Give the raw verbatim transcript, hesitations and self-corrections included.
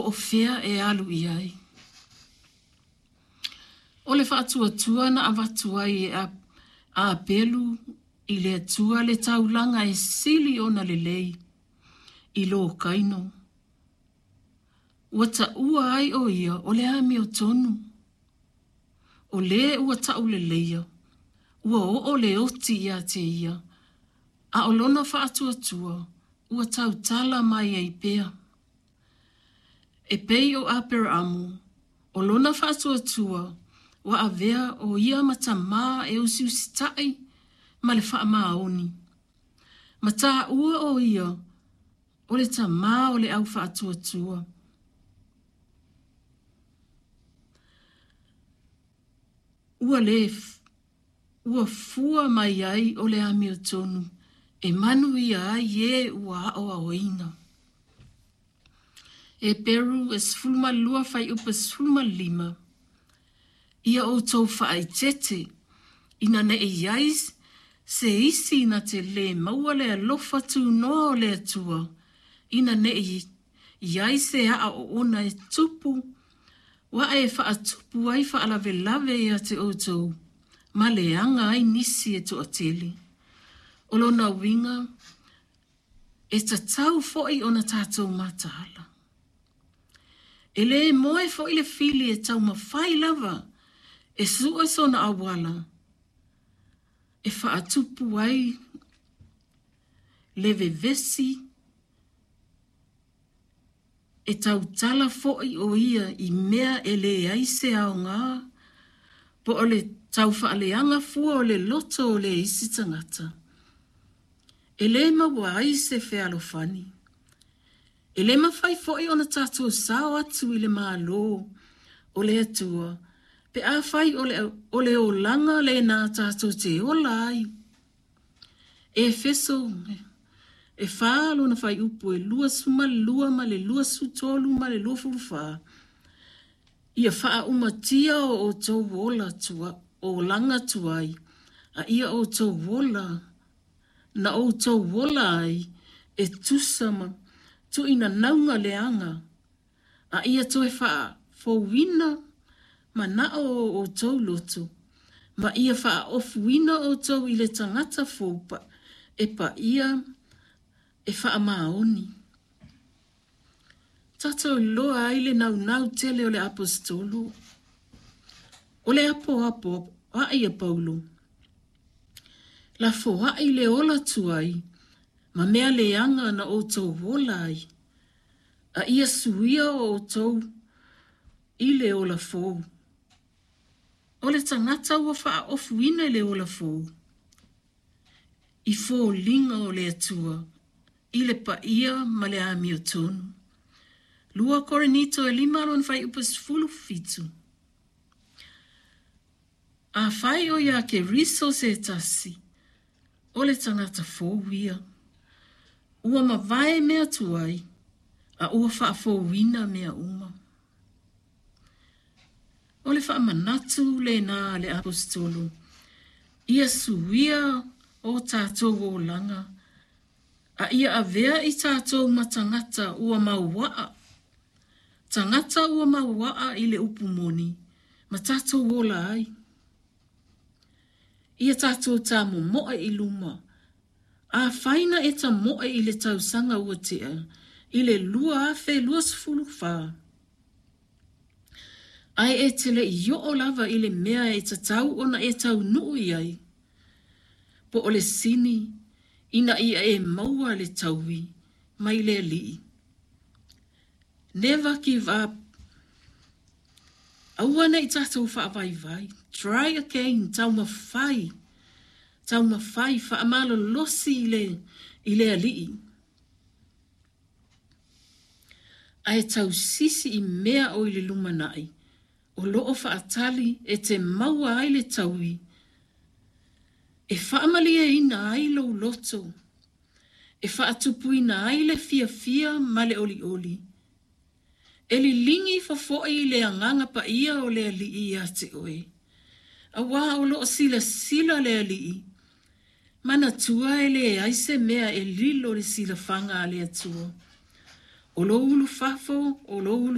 o fea e alu i ai. O le faatuatua na avatu ai e Apelu i le Atua le taulaga e sili ona lelei i lo Kaino. Ua taua ai o ia o le amiotonu. O lē ua tauleleia, ua oo le oti ia te ia, a o lona faatuatua ua tautala mai ai pea. E pei o Aperaamu, o lona faatuatua ua avea o ia ma tamā e usiusitaʻi ma le faamaoni. Ma taua o ia o le tamā o le au faatuatua. Ua le ua fua mai ai o le amiotonu e manuia ai e ua aoaoina. Heperu e sefulu ma lua fuaiupu e sefulu ma lima. Ia outou faaeteete ina ne i i ai se isi na te lē maua le alofa tunoa o le Atua, ina ne i i ai se aa oona e tupu ua e faatupu ai faalavelave ia te outou ma leaga ai nisi e toatele. O lona uiga e tatau foi ona tatou mataala. E lē moe foi le fili e taumafai lava e sue sona auala e faatupu ai le vevesi e tautala foi o ia i mea e leai se aogā po o le taufaaleaga fua o le loto o le isi tagata. E lē maua ai se fealofani. E lē mafai foi ona tatou sao atu i le Mālō o le Atua pe afai o le, o le olaga lenā tatou te ola ai. Efeso e fa lona fuaiupu e luasefulu ma lua ma le luasefulu tolu ma le luafulu fa. Ia faaumatia o outou ola tua, olaga tuai, a ia outou ola na outou ola ai e tusa ma tuuinanauga leaga, a ia toe faafouina manao o outou loto, ma ia faaofuina outou i le tagata fou e paia e faamaoni. Tatou iloa ai le naunau tele o le aposetolo. O le apoapoaʻi a Paulo, lafoaʻi le ola tuai ma mea leaga na outou ola ai, a ia suia o outou i le ola fou. O le tagata ua faaofuina i le ola fou, i foliga o le Atua, i le paia ma le amiotonu. Lua Korinito e lima lona fuaiupu sefulu fitu. Afai o ia Keriso se tasi, o le tagata fou ia. Ua mavae mea tuai, a ua faafouina mea uma. O le faamanatu lenā a le aposetolo, ia suia o tatou olaga, a ia avea i tatou ma tagata ua mauaa, tagata ua mauaa i le upu moni, ma tatou ola ai. Ia tatou tamomoe i luma, afai na e tamoe i le tausaga ua tea, i le lua afe luasefulu fa. Ae e te le i oo lava i le mea e tatau ona e taunuu i ai, po o le sini ina ia e maua le taui mai le Alii. Never give up. Aua ne i tatou faavaivai. Try again, taumafai. Taumafai, faamalolosi i le, i le Alii. Ae tausisi i mea o i le lumanai, o loo faatali e te maua ai le taui, e faamalieina ai lou loto, e faatupuina ai le fiafia ma le olioli. E liligi ifo foi i le agaga paia o le Alii ia te oe. Auā o loo silasila le Alii, manatua e leai se mea e lilo le silafaga a le Atua. O lou ulufafo, o lou